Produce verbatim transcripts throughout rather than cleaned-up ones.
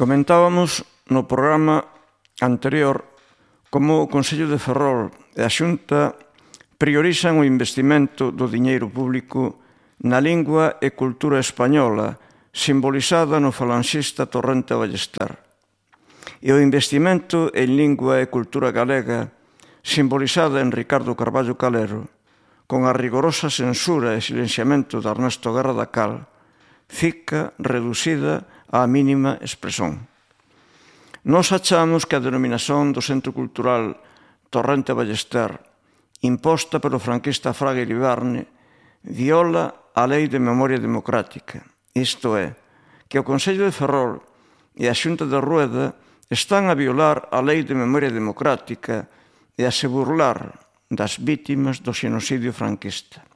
Comentábamos no programa anterior como o Concello de Ferrol e a Xunta priorizan o investimento do diñeiro público na lingua e cultura española, simbolizada no falanxista Torrente Ballester, e o investimento en lingua e cultura galega, simbolizada en Ricardo Carballo Calero, con a rigorosa censura e silenciamento de Ernesto Guerra da Cal, fica reducida á mínima expresión. Nos achamos que a denominación do Centro Cultural Torrente Ballester, imposta pelo franquista Fraga Iribarne, viola a Lei de Memoria Democrática, isto é, que o Concello de Ferrol e a Xunta de Rueda están a violar a Lei de Memoria Democrática e a se burlar das vítimas do xenocidio franquista.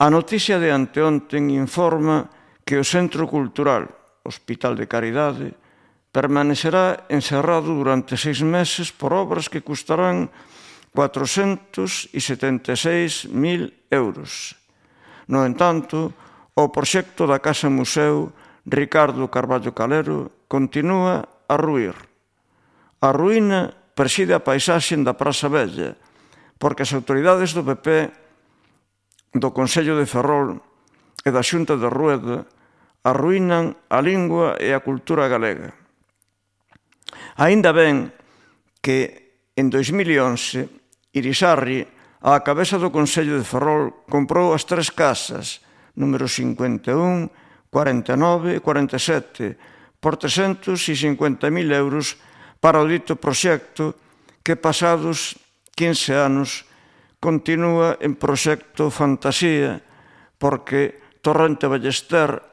A noticia de anteonten informa que o Centro Cultural Hospital de Caridade permanecerá encerrado durante seis meses por obras que custarán cuatrocentos setenta e seis mil euros. No entanto, o proxecto da Casa Museo Ricardo Carballo Calero continúa a ruir. A ruína preside a paisaxe da Praza Vella, porque as autoridades do P P, do Concello de Ferrol e da Xunta de Rueda arruínan a lingua e a cultura galega. Aínda ben que en dois mil once Irisarri, á cabeza do Concello de Ferrol, comprou as tres casas, número cincuenta e un, cuarenta e nove e cuarenta e sete, por trescentos cincuenta mil euros para o dito proxecto que pasados quince anos continúa en proxecto fantasía porque Torrente Ballester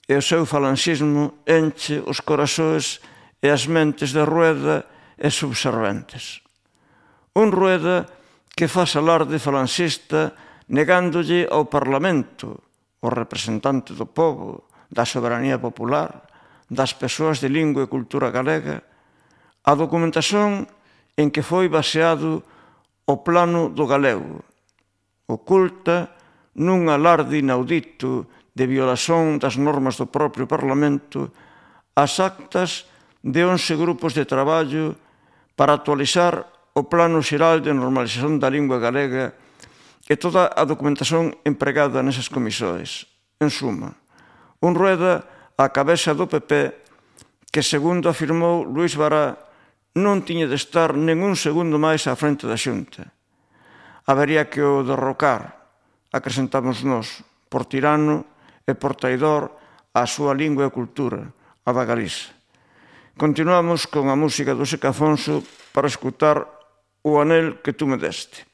e o seu falanxismo enche os corazoes e as mentes de Rueda e subserventes. Un Rueda que faz alarde falanxista negándolle ao Parlamento, o representante do povo, da soberanía popular, das persoas de lingua e cultura galega, a documentación en que foi baseado o plano do galego, oculta nun alarde inaudito de violación das normas do propio Parlamento as actas de once grupos de traballo para actualizar o Plano Xeral de Normalización da Lingua Galega e toda a documentación empregada nesas comisións. En suma, un Rueda á cabeza do P P que, segundo afirmou Luís Bará, non tiña de estar nen un segundo máis á frente da Xunta. Habería que o derrocar, acrescentamos nós, por tirano e por traidor á súa lingua e cultura, a da Galiza. Continuamos con a música do Seca Afonso para escutar O anel que tú me deste.